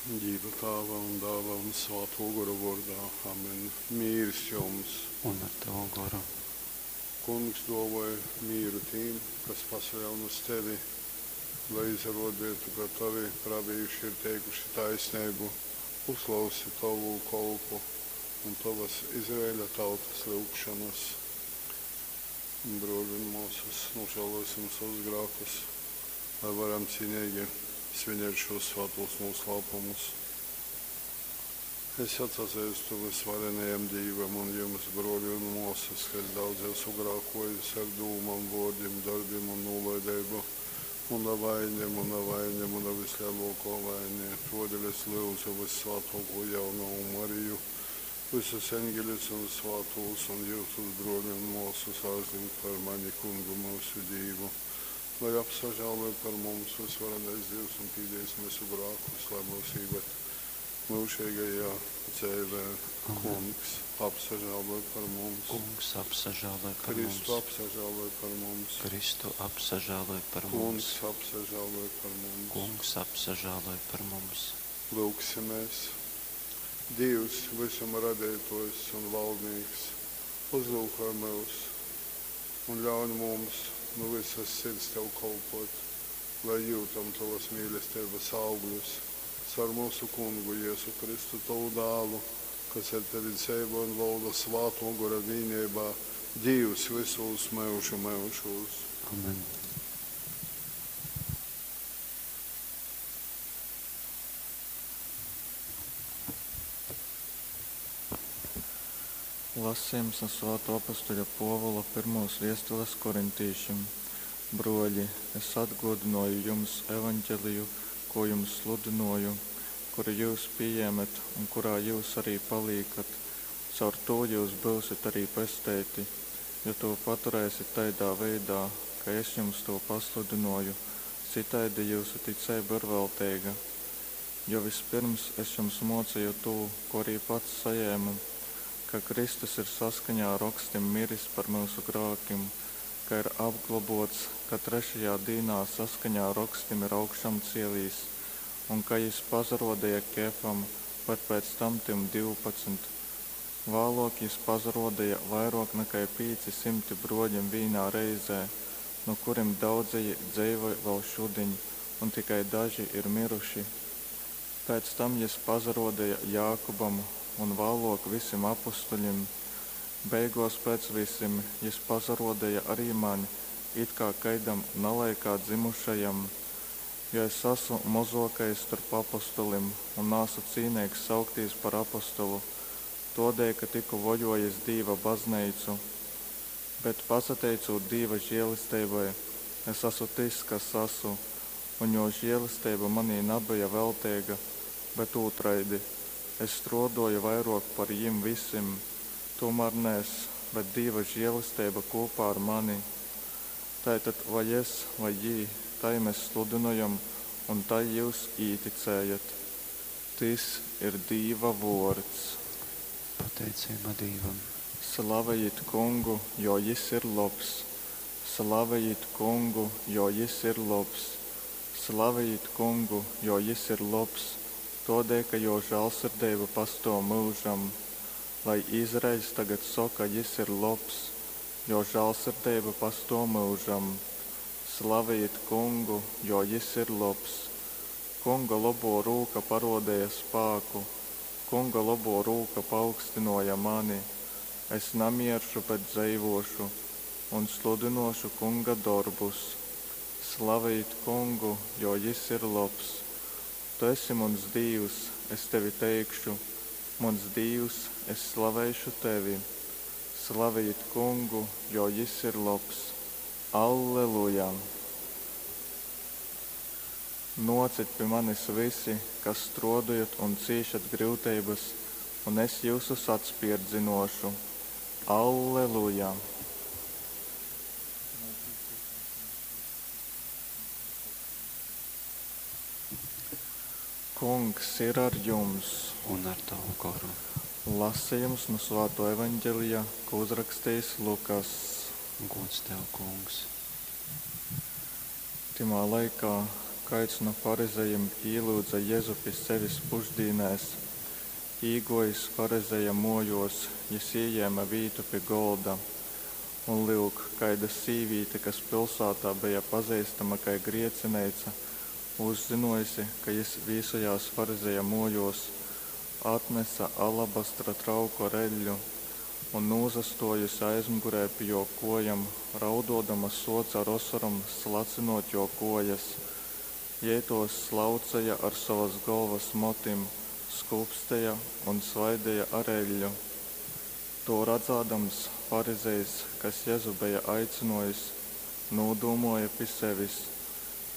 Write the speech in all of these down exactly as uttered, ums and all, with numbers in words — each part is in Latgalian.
Dīva Tāva un Dāla un Svātō Gora vōrdā. Amen. Mīrs jums! Un ar tavu goru. Kungs dōvoj mīru tīm, kas pasaļaun uz tevi, lai izarōdeitu, ka tovi pravīši ir teikuši taisneibu. Uzklausi tovu kolpu un tovas Izraeļa tautas lyugšonas. Brōli un mōsas, nūžālōsim sovus grākus, lai varam cīneigi svinēt šos svātos nūslāpumus. Es atsazeistu vysvarenajam Dīvam un jums, brōli un mōsas, ka es daudz esmu grākōjis ar dūmom, vōrdim, dorbim un nūlaideibu. Muna vaine, muna vaine, muna vislielōkō vaine. Tōdēļ es lyudzu vyssvātōkū jaunovu Mariju, vysus eņgeļus un svātūs un jyusus, brōli un mōsas, aizlyugt par mani Kungu myusu Dīvu, lai apsažāloj par mums vysvarenais Dīvs un pīdīs myusu grākus, lai myus īved myužeigajā dzeivē. Amen. Kungs, apsažāloj par mums. Kungs, apsažāloj par Kristu, mums. apsažāloj par mums. Kristu, apsažāloj par Kungs, mums. apsažāloj par mums. Kungs, apsažāloj par mums. Lūgsimies. Dievs, visuma radeitōjs un valdnīks, uzlūkoj myus un ļauj mums nu visas sirds tev kalpot, lai jūtam tavas mīlestības augļus caur mūsu Kungu Jēzu Kristu, tavu dālu, kas ar tevi dzeivo un valda Svātō Gora vienībā, Dievs visos mūžu mūžos. Amen. Lasījums no Svāto apustuļa Pōvula pirmos viestules korintīšim. Broļi, es atgodināju jums evaņģeliju, ko jums sludināju, kuru jūs pieņemat un kurā jūs arī paliekat. Caur to jūs būsiet arī pesteiti, ja to paturēsiet tādā veidā, ka es jums to pasludināju, citaidi jūsu ticība ir veltīga. Jo vispirms es jums mocīju to, ko arī pats saņēmu, ka Kristus ir saskaņā ar rakstim miris par mūsu grēkiem, ka ir apglobots, ka trešajā dīnā saskaņā ar rakstim ir augšām cielīs, un ka jis pazarodīja Kefam, bet pēc tam tiem divpadsmit. Vēlāk jis pazarodīja vairāk nekā pīci simti broļiem vienā reizē, no kuriem daudzeji dzīvoja vēl šudiņ, un tikai daži ir miruši. Pēc tam jis pazarodīja Jākubam un vēlāk visiem apustuļiem. Beigos pēc visiem jis pazarodīja arī man, it kā kaidam nalaikā dzimušajam, jo es esmu mozokais starp apustulim un nāsu cīnīgs saukties par apustulu, todēļ, ka tiku vojojis Dīva baznīcu. Bet pasateicot Dīva žēlestībai, es esmu tas, kas esmu, un jo žēlestība manī nebija veltīga, bet otraidi, es strodoju vairāk par jim visiem, tomēr ne es, bet Dīva žēlestība kopā ar mani. Tātad vai es, vai jī, tai mēs sludinojam, un tai jūs īticējat. Tis ir Dīva vārds. Pateicība Dīvam. Slavejit kungu, jo jis ir labs. Slavejit kungu, jo jis ir labs. Slavejit kungu, jo jis ir labs, todēļ, ka jo žēlsirdība pastāv mūžam. Lai Izraels tagad saka, jis ir labs, jo žēlsirdība pastāv mūžam. Slavejit kungu, jo jis ir labs. Kunga labo rūka parodēja spēku, kunga labo rūka paaugstināja mani. Es namieršu, bet dzīvošu un sludinošu kunga darbus. Slavejit kungu, jo jis ir labs. Tu esi mans Dievs, es tevi teikšu, mans Dievs, es slavēšu tevi. Slavejit kungu, jo jis ir labs. Alleluja! Nocit pie manis visi, kas strodojat un cīšat grūtības, un es jūsus atspierdzinošu. Alleluja! Kungs ir ar jums. Un ar tavu goru. Lasījums no Svāto evaņģelija, ko uzrakstījis Lukas. Gods tev, kungs. Timā laikā, kaids nu farizejim īlyudze Jezu pi sevis pušdīnēs. Īgōjis farizeja mōjōs, jys ījēme vītu pi golda. Un, lyuk, kaida sīvīte, kas pilsātā beja pazeistama kai griecineica, uzzynōjuse, ka jys vīsojās farizeja mōjōs, atnese alabastra trauku ar eļļu un, nūsastōjuse aizmugurē pi jō kōjom, raudōdama sōce ar osorom slacynōt jō kōjas. Jei tōs slauceja ar sovas golvas motim, skupsteja un svaideja ar eļļu. Tū radzādams, farizejs, kas Jezu beja aicynōjis, nūdūmōja pi sevis,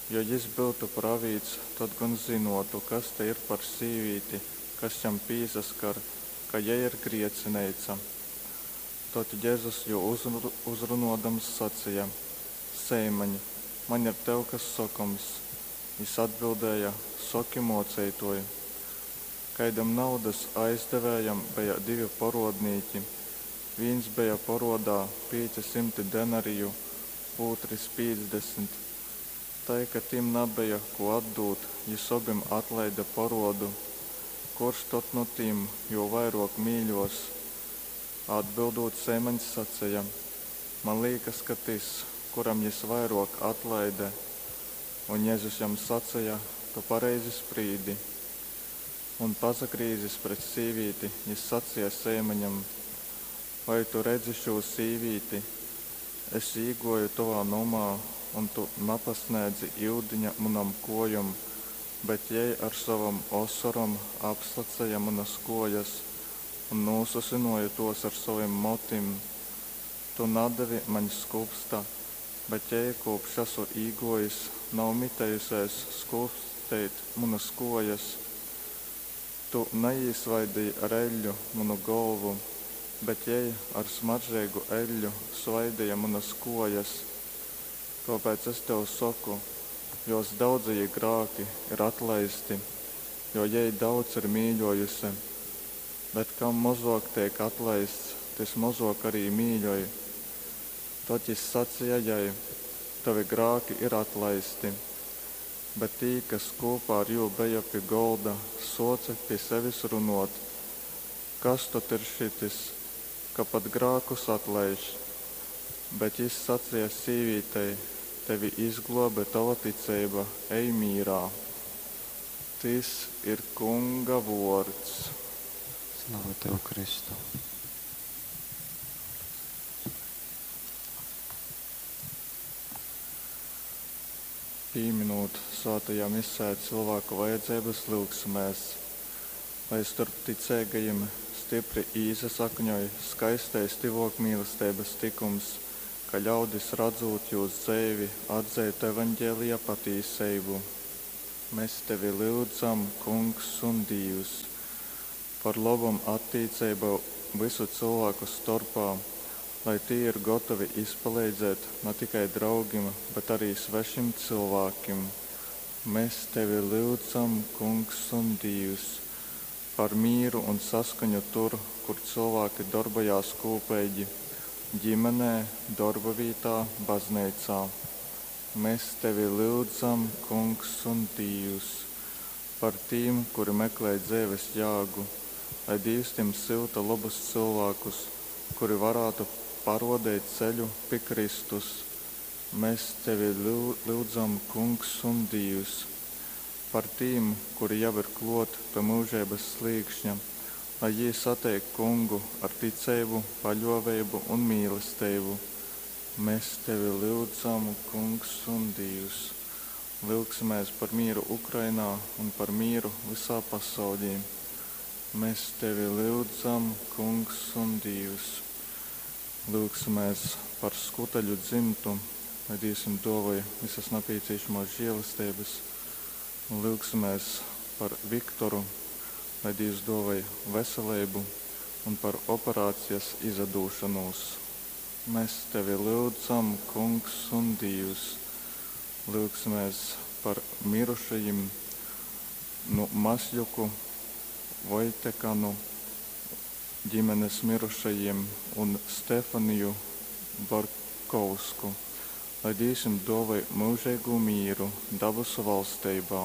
Jo jys byutu pravīts, tod gon zynōtu, kas tei ir par sīvīti, kas jam pīsaskar, ka jei ir griecineica. Tod Jezus jū uzrunōdams saceja, Seimaņ, maņ ir tev kas sokoms. Jys atbildēja, Soki, Mōceitōj! Kaidam naudas aizdevējam beja divi porōdnīki. Vīns beja porōdā pīci symti denariju, ūtris pīcdesmit. Tai ka tim nabeja, kū atdūt, jys obim atlaide porōdu. Kurs tod nu tim jū vairōk mīļōs? Atbyldūt Seimaņs saceja, Man līkas, ka tys, kuram jys vairōk atlaide. Un Jezus jam saceja, Tu pareizi sprīdi. Un, pasagrīzis pret sīvīti, jys saceja Seimaņam, Vai tu redzi šū sīvīti? Es īgōju tovā nomā, un tu napasnēdzi yudiņa munom kōjom, bet jei ar sovom osorom apslaceja munas kōjas un nūsusynōja tōs ar sovim motim. Tu nadevi maņ skupsta, bet jei, kūpš asu īgōjis, nav mitējusēs skupsteit munas kōjas. Tu naīsvaideji ar eļļu munu golvu, bet jei ar smaržeigu eļļu svaideja munas kōjas. Tōpēc es tev soku, jōs daudzejī grāki ir atlaisti, jo jei daudz ir mīļōjuse. Bet kam mozōk teik atlaists, tys mozōk arī mīļoj. Tod jys saceja jai, Tovi grāki ir atlaisti. Bet tī, kas kūpā ar jū beja pi golda, sōce pi sevis runōt, Kas tod ir šytys, ka pat grākus atlaiž? Bet jys saceja sīvītei, Tevi izglōbe tova ticeiba, ej mīrā. Tys ir Kunga vōrds. Slava Tev, Kristu! Pīminūt svātajā Misē cylvāku vajadzeibas, lyugsimēs, lai storp ticeigajim stypri īsasakņoj skaistais tyvōkmīlesteibas tykums, ka ļaudis, radzūt jūs dzeivi, atzeitu Evangelija patīseibu. Mes Tevi lyudzam, Kungs un Dīvs! Par lobom attīceibou vysu cylvāku storpā, lai tī ir gotovi izpaleidzēt na tikai draugim, bet ari svešim cylvākim. Mes Tevi lyudzam, Kungs un Dīvs! Par mīru un saskaņu tur, kur cylvāki dorbojās kūpeigi, ģimenē, dorbavītā, bazneicā. Mes Tevi lyudzam, Kungs un Dīvs! Par tīm, kuri meklej dzeives jāgu, lai Dīvs tim syuta lobus cylvākus, kuri varātu parōdeit ceļu pi Kristus. Mes Tevi lyudzam, Kungs un Dīvs! Par tīm, kuri jau ir klōt pi myužeibas slīkšņa, lai jī sateik Kungu ar ticeibu, paļōveibu un mīlesteibu. Mes Tevi lyudzam, Kungs un Dīvs! Lyugsimēs par mīru Ukrainā un par mīru vysā pasaulī. Mes Tevi lyudzam, Kungs un Dīvs! Lyugsimēs par Skuteļu dzimtu, lai Dīvs jim dōvoj visas napīcīšamās žēlesteibas. Un lyugsimēs par Viktoru, lai Dīvs dōvoj veseleibu un par operācijas izadūšanūs. Mēs Tevi lyudzam, Kungs un Dīvs! Lyugsimēs par mirušajim nu Masļuku, Vojtekanu ģimenes mirušajiem un Stefaniju Barkovsku, Lai Dīvs jim duovoj myužeigū mīru dabasu valsteibā.